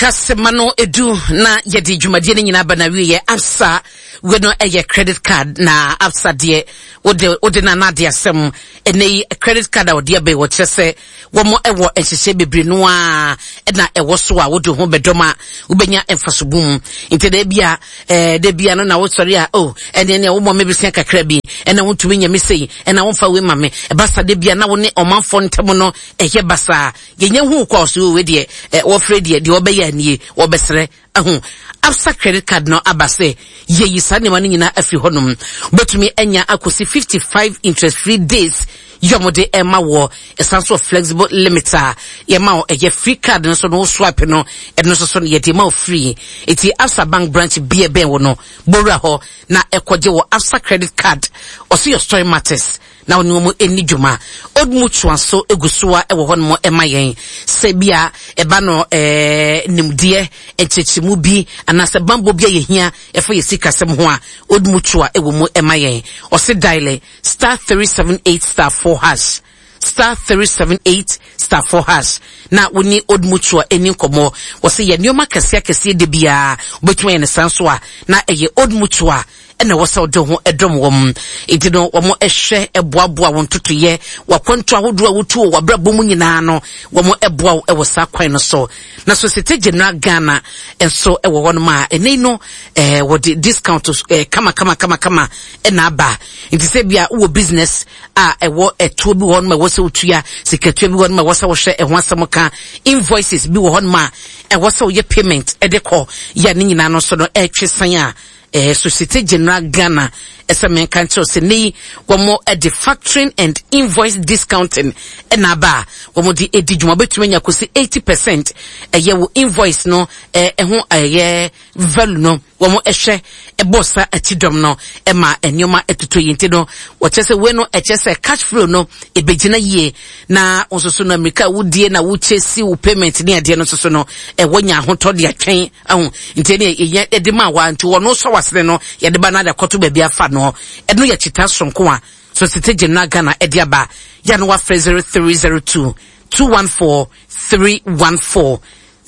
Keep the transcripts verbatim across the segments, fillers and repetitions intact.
Aka sema no edu na yɛde dwumadie no nyinaa ba na wieɛ. Absa wei no ɛyɛ credit card, na Absa deɛ, wode wode na anade asɛm. Ɛnɛ yi credit card a wɔde abɛn, wɔkyerɛ sɛ wɔn ɛwɔ nhyehyɛ bebree no a ɛna ɛwɔ so a wode ho bɛdɔm a wobɛnya mfasobo mu. Nti da bia ɛɛ da bia no na wosɔre a, oh, ɛne ɛne womɔ me besia kakra bi, ɛna wontumi nya me sei, ɛna womfa wei ma me. Ɛba sa, da bia na wo ne ɔmanfoɔ ntam no ɛyɛ basaa. Yɛnyɛ hu kɔ so wei deɛ, ɛ wɔfrɛ deɛ deɛ wɔbɛyɛ anie, wɔbɛsrɛ ɛho. Absa credit card no aba sɛ yɛyi saa nneɛma no nyinaa afiri hɔnom. Wobɛtumi anya akɔsi fifty five interest free days yɛ ɔmo de ɛma wɔ. Ɛsan so flexible limit a yɛma wo. Ɛyɛ free card no so no, wo swipe no, ɛno nso so no yɛde ma wo free. Eti Absa Bank branch bi ɛbɛn wo no, bowura hɔ na ɛkɔgye wɔ Absa credit card. Ɔso your story matters na wɔne wɔn ani dwuma. Old Mutual nso egu so a ɛwɔ hɔnom ɛma yɛn sɛ bia ɛba no ɛɛ nimdeɛ nkyerɛkyerɛmu bi anaasɛ bambɔ bi a yɛhia ɛfa yɛ sikasɛm ho a, Old Mutual ɛwɔ mu ɛma yɛn. Ɔsi dial star three seven eight star four hash, star three seven eight star four hash na wone Old Mutual ani nkɔmmɔ. Wɔsi yɛ nneɛma kɛseɛ kɛseɛ de biara wobɛtumi ayɛ ne san so a, na ɛyɛ Old Mutual ɛna ɛwɔ sɛ ɔde ho ɛdɔm wɔn. Nti no wɔn ɛhwɛ ɛboaboa wɔn totoyɛ wakwantu ahodoɔ a wotu wɔ wabrabɔ mu nyinaa no, wɔn ɛboa wo ɛwɔ saa kwan no so. Na Societe Generale Ghana nso ɛwɔ hɔnom a ɛnɛ no ɛɛ wɔde discount ɛɛ kama kama kama kama ɛna aba. Nti sɛ bia wowɔ business a ɛwɔ ɛtoɔ bi wɔ hɔnom a ɛwɔ sɛ wotua sikatua bi wɔ hɔnom a ɛwɔ sɛ wɔhwɛ ɛho asɛm ka, invoices bi wɔ hɔnom a ɛwɔ sɛ woyɛ payment ɛde kɔ yɛ ne nyinaa no nso no ɛretwe san a, eh, Societe Generale Ghana ɛsɛ menka nkyerɛw sɛ ne yi wɔn de factoring and invoice discounting ɛna aba a wɔn de edi dwuma. Wobɛtumi anya kɔsi eighty percent ɛyɛ wo invoice no ɛho ɛyɛ value no. Wɔn ɛhwɛ ɛbɔ sa akyi dɔm no ɛma nneɛma ɛtotɔ yi. Nti no wɔkyerɛ sɛ wei no ɛkyerɛ sɛ cash flow no ebegyina yie, na nso so no mmirika a wodie na wokyɛ si wo payment ne adeɛ no nso so no ɛwɔ nya ahotɔ de atwɛn ɛho. Nti ɛne yɛnya ɛde ma wa nti wɔn sɔ wasene no yɛde ba na de akɔto baabi afa no. Ɛno yɛ kyita sonko a Societe Generale Ghana ɛde aba. Yɛ no wafrɛ zero three zero two two one four three one four,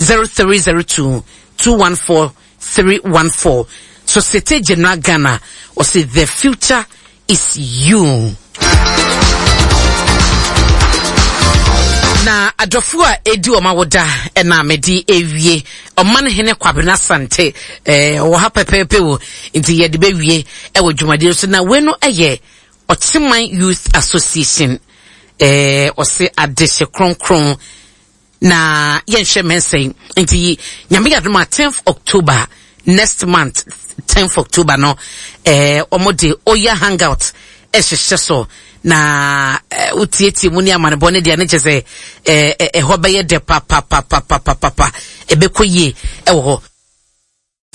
zero three zero two two one four three one four. Societe Generale Ghana ɔsi the future is you. Na adɔfo a edi wɔn awoda ɛna mede ewie. Ɔman hene Kwabena Sante ɛɛ ɔwɔ ha pɛpɛɛpɛ o, nti yɛde bɛwie ɛwɔ dwumadie so. Na wei no ɛyɛ Ɔkyeman Youth Association. ɛɛ ɔse adehye kronkron na yɛnhwɛ mɛnsɛn. Nti Nyame yɛ adom a, tenth October next month, tenth October no, ɛɛ wɔn de Oya Hangout ɛhyehyɛ so na ɛɛ wotietie mu ne amanebɔ ne deɛ ne kyɛ sɛ ɛɛ ɛhɔ bɛyɛ dɛ papapapapapa, ɛbɛkɔ yie ɛwɔ hɔ.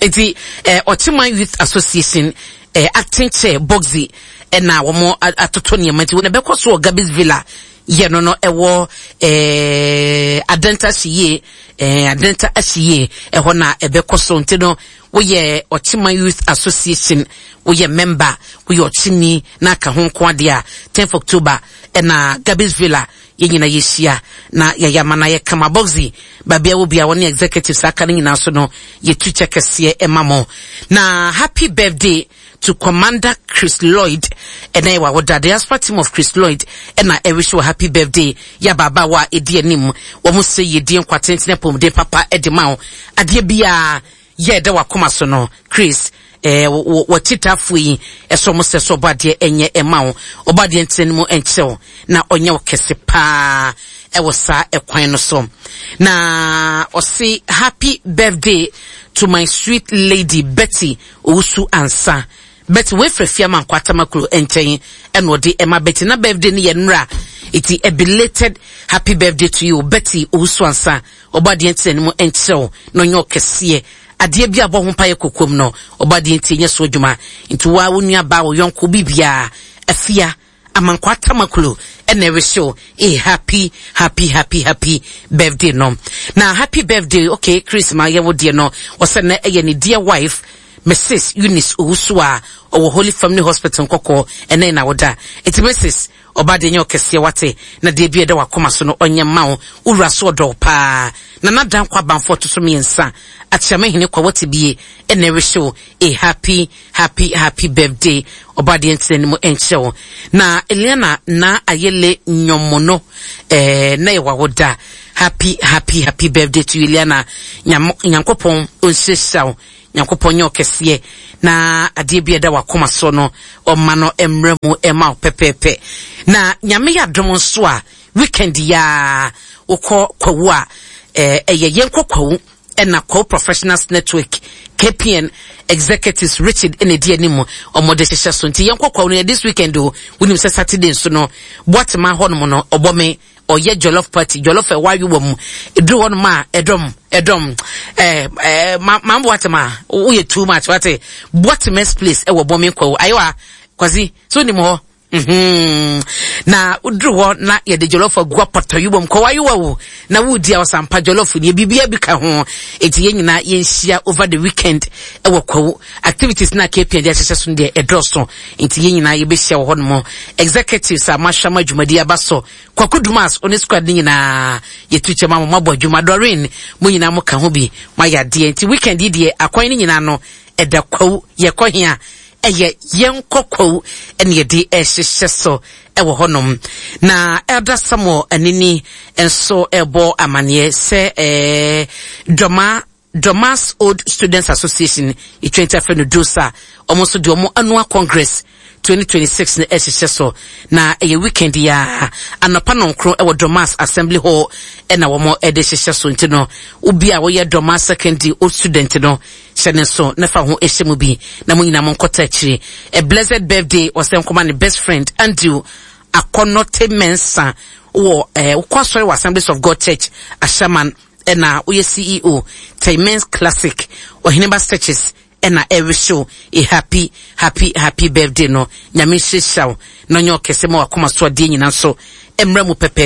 Nti ɛɛ Ɔkyeman Youth Association ɛɛ acting chair Boxy ɛna wɔn atoto nneɛma. Nti wɔn ɛbɛkɔ so wɔ Gabis Villa yɛ no no ɛwɔ ɛɛ Adenta Ahyie, ɛɛ Adenta Ahyie ɛhɔ na ɛbɛkɔ so. Nti no woyɛ Ɔkyeman Youth Association, woyɛ member, woyɛ ɔkyeni na aka ho nko adeɛ a, tenth October ɛna Gabis Villa yɛn nyinaa yɛhyia na yɛyɛ ama na yɛkama. Boxy baabi a wɔ bia, wɔne executives aka no nyinaa so no, yɛtu kyɛ kɛseɛ ɛma mo. Na happy birthday to Commander Chris Lloyd. Ɛna yɛ wawoda. Diaspora team of Chris Lloyd ɛna ɛwish wɔ happy birthday. Yɛ ababaawa a ɛdi anim, wɔn sɛ yɛdi nkwa tenten, apɔmuden papa ɛde ma wo. Adeɛ biara yɛ ɛda wakoma so no, Chris, ɛɛ wɔkyitafoɔ yi ɛsɛ ɔmo sɛ sɛ ɔbɔ adeɛ ɛnyɛ ɛma wo, ɔbɔ adeɛ ntena no mu ɛnkyerɛw na ɔnyɛ wo kɛse paa ɛwɔ saa ɛkwan no so. Na ɔse happy birthday to my sweet lady Betty Owusu Ansa. Betty wefrɛ Fiama Nkwatama kuro nkyɛn ɛna ɔde ɛma Betty na birthday no yɛ nnora, eti a belated happy birthday to you, Betty Owusu Ansa. Ɔbɔ adeɛ ntena no mu nkyerɛw na ɔnyɛ ɔkɛseɛ. Adeɛ bi a bɔ ho mpaeɛ kokom no, ɔbɔ adeɛ nti ɛnyɛ so adwuma. Nti waa wo nua baa, wo yɔnko bibiara Afia Amankwa Tamaklo ɛna ɛrehyɛw a happy happy happy happy birthday no. Na happy birthday, okay, Chris ma yɛwo deɛ no, ɔsɛ na ɛyɛ ne dear wife Missus Eunice Owusu a ɔwɔ Holy Family Hospital Nkɔkɔɔ, ɛnɛ na woda. Enti Missus Ɔba deɛ nyɛ ɔkɛseɛ wate, na deɛ bi ɛda wakoma so no ɔnyɛ mma wo. Wowura so ɔdɔ wo paa. Nana Dankwa Abanfo ɔto so mmiɛnsa, Akyeamehene kwa wate bie, ɛna ɛrehye wo a happy happy happy birthday. Ɔba deɛ ntena anim ɛnkyerɛ wo. Na Eliana na Ayele Nyomono, eh, na yɛ wawoda. Happy happy happy birthday to you, Eliana. Nyankopɔn ɔnhyirahyira wo. Nyankopɔn nyɛ ɔkɛseɛ na adeɛ bi a ɛda wakoma so no ɔma no mmerɛ mu ɛma wo pɛpɛɛpɛ. Na Nyame yɛ adom nso a weekend yaa wokɔ Kwawu a, ɛyɛ yɛnkɔ Kwawu ɛna Kwawu Professionals Network K P N executives Richard ɛna edi anim, ɔmo de hyehyɛ so. Nti yɛnkɔ Kwawu no yɛ this weekend o. Wonim sɛ Saturday nso no Boatema hɔnom no ɔbɔ me ɔyɛ jollof party, jollof ɛwɔ ayowa mu eduru hɔnom a ɛdɔm ɛdɔm ɛɛ ɛɛ ma maa Boatema woyɛ too much wate. Boatema's Place ɛwɔ Bɔmi Kwawu ayewa Kwasi so nim hɔ mm-hmm. Na woduru hɔ na yɛde jollof agu apɔtɔyowa mu kɔ wayowa wo na wodi a ɔsampa jollof ni biribiara bi ka ho. Eti yɛn nyinaa yɛnhyia over the weekend ɛwɔ Kwawu. Activities na K P N de ahyehyɛ so no deɛ ɛdɔɔso, nti yɛn nyinaa yɛbɛhyia wɔ hɔnom. Executives a mahwɛ ama dwumadi aba so, Kwaku Dumas ɔne squad ne nyinaa yɛtu kyɛ ma mo, mabɔ adwuma. Doreen, mo nyinaa mo ka ho bi, moayɛ adeɛ. Nti weekend yi deɛ akwan no nyinaa no ɛda Kwawu. Yɛkɔ hea? Ɛyɛ yɛnkɔ Kwawu ɛne yɛde ɛhyehyɛ so ɛwɔ hɔnom. Na Elder Samuel Anini nso ɛbɔ amanneɛ sɛ ɛɛ Dɔma Dɔmas Old Students Association etwa afɛ no Dosa, ɔmo nso de ɔmo annual congress twenty twenty-six no ɛhyehyɛ so, na ɛyɛ weekend yi a anɔpa nɔnkoro ɛwɔ Dɔmas Assembly Hall ɛna wɔn ɛde hyehyɛ so. Nti no obi a wɔyɛ Dɔmas Secondary old student no, hyɛ ne nso na fa ho ɛhyɛ mu bi na mo nyinaa mo nkɔta akyire. A blessed birthday ɔsɛ nkɔma ne best friend Andrew Akɔnɔte Mensa wɔ ɛɛ wokɔ asɔre wɔ Assemblies of God Church Ashaman, ɛna woyɛ C E O Taimens Classic Ɔheneba Searches, ɛna ɛrehyɛw a happy happy happy birthday no. Nyame nhyirahyira wo na ɔnyɛ ɔkɛse ma wakoma so adeɛ nyinaa nso mmerɛ mu pɛpɛɛpɛ.